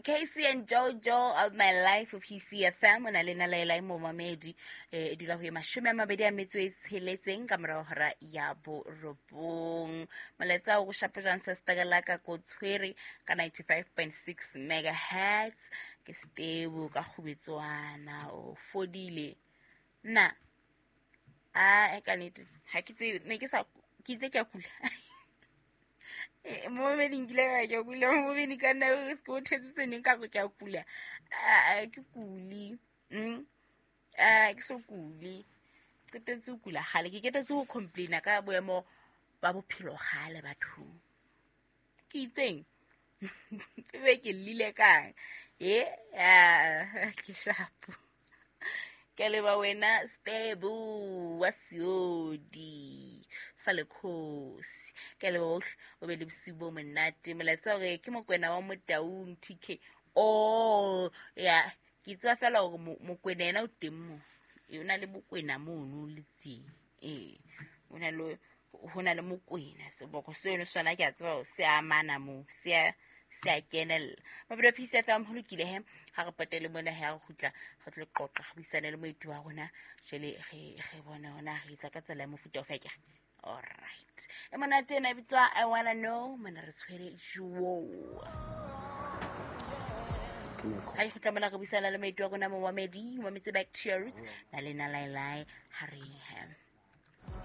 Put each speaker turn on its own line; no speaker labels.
Casey and Jojo of my life of PCFM o na le nalaela e momamedi e dula ho ye 26 ka morago hora ya 9. Molaetsa o go shapa jang se setakela ka ko tshwere ka 95.6 megahertz ke stebu ka kgubetswana o fodile nna a e ka nnete ga ke tsebe ne ke sa ke itse ke a kula. Momamedi nkile ka ke a kula momamedi ka nna se ke o thetsitse neng ka gore ke a kula. A ke kule. A ke so kule, qetetse ho kula gale, ke ketetse ho complaina ka boemo ba bophelo gale bathong. Ke itseng be ke llile kang e ke shapo. Ke leba wena Stebo wa Seodi sa lekgosi, ke leba ohle, o be le bosiu bo monate. Molaetsa hore ke Mokwena wa Motaung TK. O ya ke tseba fela hore Mokwena yena o teng mo, e o na le Bokwena mono letseng, ee o na le ho na le Mokwena seboko seno sona ke a tseba hore se amana moo, se a kenella mabelo. Peace FM. Ho lokile he, ha re potele mona he, ha re kgutla re tlo qoqa, re buisane le moeti wa rona. Jwale re bone hona re etsa ka tsela ya mofuta ofe akere. Alright, e monate ena e bitswa I Wanna Know. Mona re tshwere juo ha e kgutla mona re buisana le moeti wa rona momamedi, mametse back to your roots na le nalaelai ha re he.